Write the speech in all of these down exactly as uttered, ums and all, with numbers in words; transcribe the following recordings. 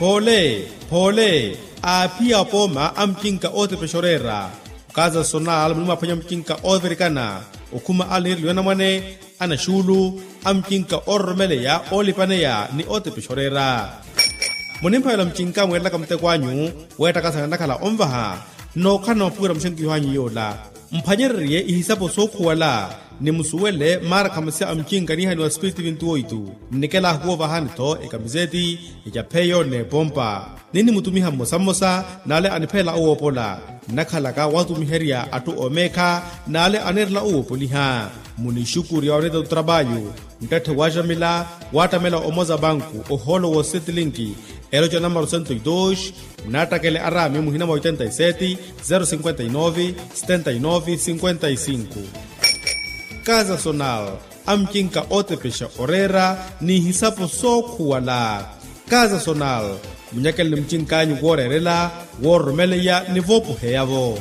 Poole, poole, aaphiya apooma a mucinka ootepexa oreera. Okaza sonal muni mwaphwanya mucinka oovirikana, okhuma ale anireliwa anamwane, anaxuulu, a mucinka oororomeleya oolipaneya ni ootepexa oreera. Munimphavela mucinka mweerelaka muteko anyu, weettakasana nakhala onvaha, nookhala na maphukira muxenkiho anyu yoola. Mphwanyererye ihisapo sookhuwala, ni musuwele maara khamasya a mucinka niihaniwa spiritu vintu oitu. Nnikela ahuwovahani-tho ekamiseti, ecapheyo n'epompa. Ninnimutumiha mmosa mmosa n'ale aniphelela owoopola. Nnakhalaka watumiherya atthu oomeekha n'ale aneerela owoopoliha. Munixukurya oneeta otrapayu, nttatthe waaxamila, waattamela omoza banku ohoolo w'osetilinki, eloca namaro sento e dos. Munaattakele araami muhina mwa oitenta e seti, zero sinkwenta e nove, setenta e nove sinkwenta e sinku. Kaza sonal, a mucinka ootepexa oreera, n'ihisapo sookhuwala. Kaza sonal, munyakele ni mucinkanyu wooreerela, woororomeleya ni voopoheya-vo.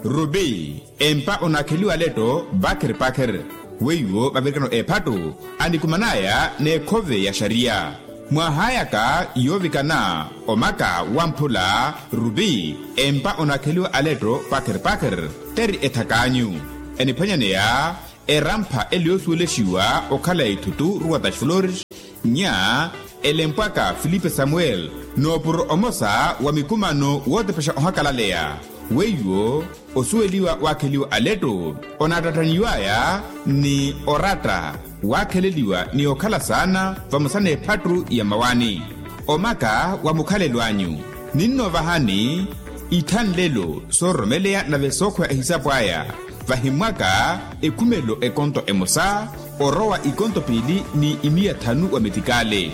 Rubi, empa onaakheliwa aletto pakher pakher. Weiwo mavirikano eephattu, anikuman'aya n'ekhove ya xariya. Mwaahayaka yoovikana omaka wamphula, rubi, empa onaakheliwa aletto pakher pakher, teri ethak'anyu. Eniphwanyaneya erampha ele yoosuwelexiwa okhala ithutu ruwa ta xiflores, nya elempwaka filipe samuel, n'opuro omosa wa mikumano wootepexa ohakalaleya. Weiwo osuweliwa waakheliwa aletto, onaattattanyiw'aya ni oratta, waakheleliwa ni okhala saana vamosa n'ephattu ya mawani. Omaka wa mukhalelo anyu, ninnoovahani ithanlelo soororomeleya nave sookhweya ehisapo aya. Vahimmwaka ekhumelo ekonto emosa, orowa ikonto piili ni imiya thanu wa metikale.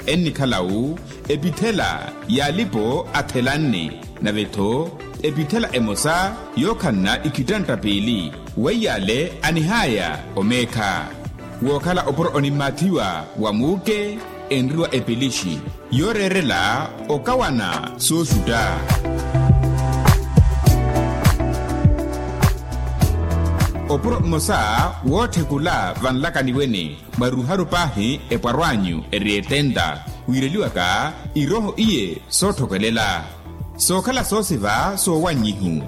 Ennikhala-wu epithela y'alipo athelanne, nave-tho epithela emosa yookhanna ikhitantta piili. Weiy'ale anihaya omeekha. Wookhala opuro onimmaathiwa wa muuke, enriwa epilixi yooreerela okawana sooxutta. Opuro mmosa wootthekula vanlakaniwene, mwaruharu paahi epwarw'anyu eri etenta, wiireliwaka irooho iye sootthokelela. Sookhala soosiva soowannyihu.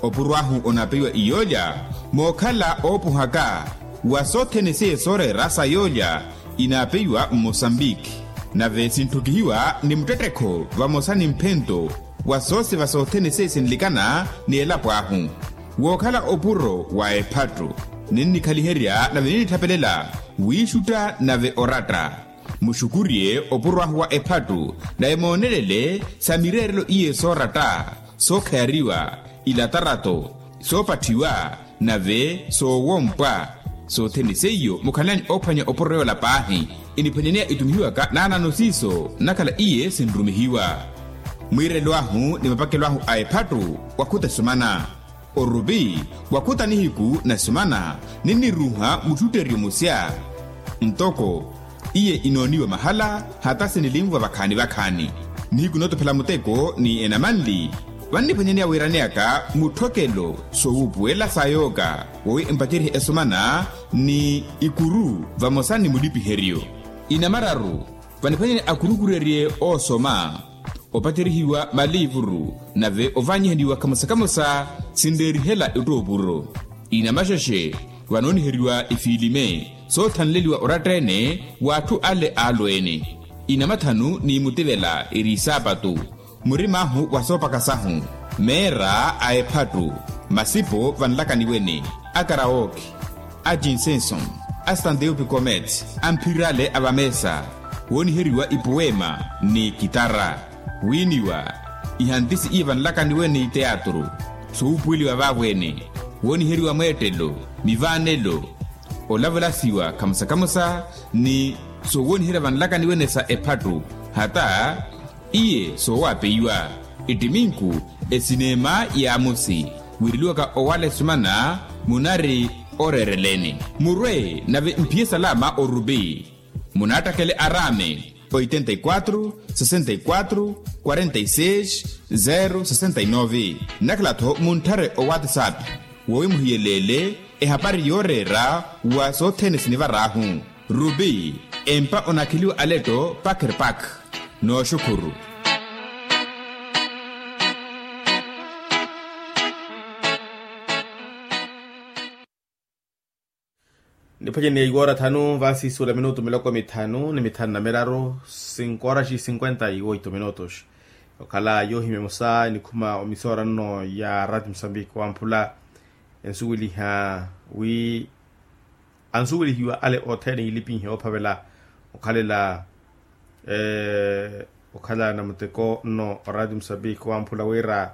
Opuro ahu onaapeiwa iyoolya, mookhala oopuhaka wa sothene seiye sooreera sa yoolya, inaapeiwa mmosambiki. Nave sintthukihiwa ni muttettekho vamosa ni mphento wa soosiva sothene seiye sinlikana ni elapo ahu. Wookhala opuro wa ephattu, ninnikhaliherya nave ninnitthapelela wiixutta nave oratta. Muxukurye opuro ahu wa ephattu, nave moonelele sa mireerelo iye sooratta, sookhayariwa, ilatarato, soopatthiwa, nave soowompwa. Sothene seiyo mukhalelani oophwanya opuro yoola paahi. Iniphwanyaneya itumihiwaka naanano siiso nnakhala iye sinrumihiwa. Mwiirelo ahu ni mapakelo ahu a ephattu wakhuta esumana. Orupi, wakhuta nihiku na esumana, ninniruuha muttutteryo musya. Ntoko iye inooniwa mahala, hata sinilinvwa vakhaani vakhaani. Nihiku nootophela muteko ni enamanli, vanniphwanyaneya wiiraneyaka mutthokelo soowuupuwela sa yooka, wowi empaceryihe esumana ni ikuru vamosa ni mulipiheryo. Inamararu, vaniphwanyaneya akhurukurerye oosoma, opacerihiwa maliivuru, nave ovanyihaniwa kamosa kamosa sinreerihela ettoopuro. Inamaxexe, vanooniheriwa ifiilime soothanleliwa oratta-ene w'atthu ale aalweene. Inamathanu ni mutivela eri isaapatu, murim'ahu wa soopaka sahu, meera a ephattu, masipo vanlakaniwene, a karawoki, a jinsenson, a standeu pikomet, a mphirale a vameesa, wooniheriwa ipuwema ni kitara, wiiniwa ihantisi iye vanlakaniwene ni teatru, sowuupuweliwa vaavo-ene, wooniheriwa mweettelo, mivaanelo, olavelasiwa kamosa kamosa ni sowooniherya vanlakaniwene sa ephattu, hata iye soowapeiwa, ettiminku, esineema y'amosi, wiireliwaka owala esumana munari oreereleni. Murwe nave mphiye salama orupi, munaattakele araame oitenta e quatro, sesenta e quatro, quarenta e seis, zero sesenta e nove. Nnakhala-tho muntthare owatsapp, wowi muhiyeleele Ehapari yooreera wa sothene sinivar'ahu. Rupi empa onakheliwa aletto pakerpak. Nooxukhuru. Niphwanyeni ya iwoora thanu vaasi suula minutu miloko mithanu ni mithanu na miraru. Sinkoraxi sinkwenta iwoito minutos. Okhala yoohimya emosa enikhuma omisoora nno ya rati musambiki wamphula ensuweliha wi ansuwelihiwa ale othene iilipinhe oophavela okhalela okhala na muteko nno orati musambiki wamphula wira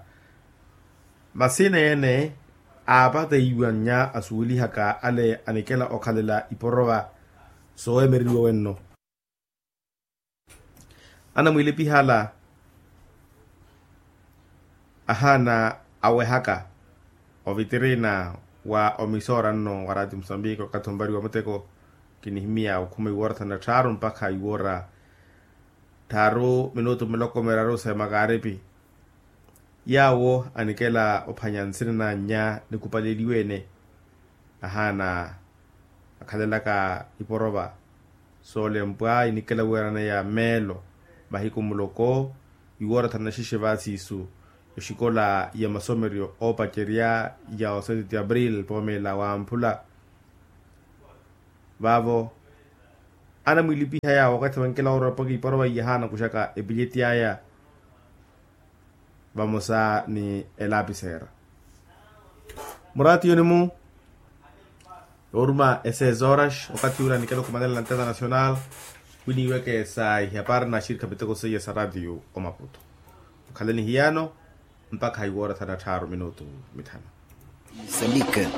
masina ene aapateiwa nnya asuwelihaka ale anikela okhalela iporova soowemereriwa wenno. Anamwiilipihala ahaana awehaka ovitirina wa omisoora nno wa rati musambiki okathi ompariwa muteko kinihimya okhuma iwoora thanu na tthaaru mpakha iwoora tthaaru minutu miloko miraru sa emakaaripi. Yaawo anikela ophwanya nsina na nnya nikupaleliwe-ene ahaana akhalelaka iporova soolempwa inikela weerana ya meelo mahiku muloko iwoora thanu na xexe vaasiisu. Exikola ya masomeryo oopacerya ya oseti ti april poomeela wamphula vaavo anamwiilipiha yaawo wakathi vankela woorapaka iporova iyahaana kuxaka epileti aya vamosa ni elapiseera. Muraatiyoni-mu yooruma eseis horas okathi ula nikela okhumanela na nteta nacional winiiweke sa ihapari na axirikha miteko seiya sa ratiyo omaputo. Okhalani hiyano mpakha iwoora thanu na tthaaru minutu mithanu. Mosambike.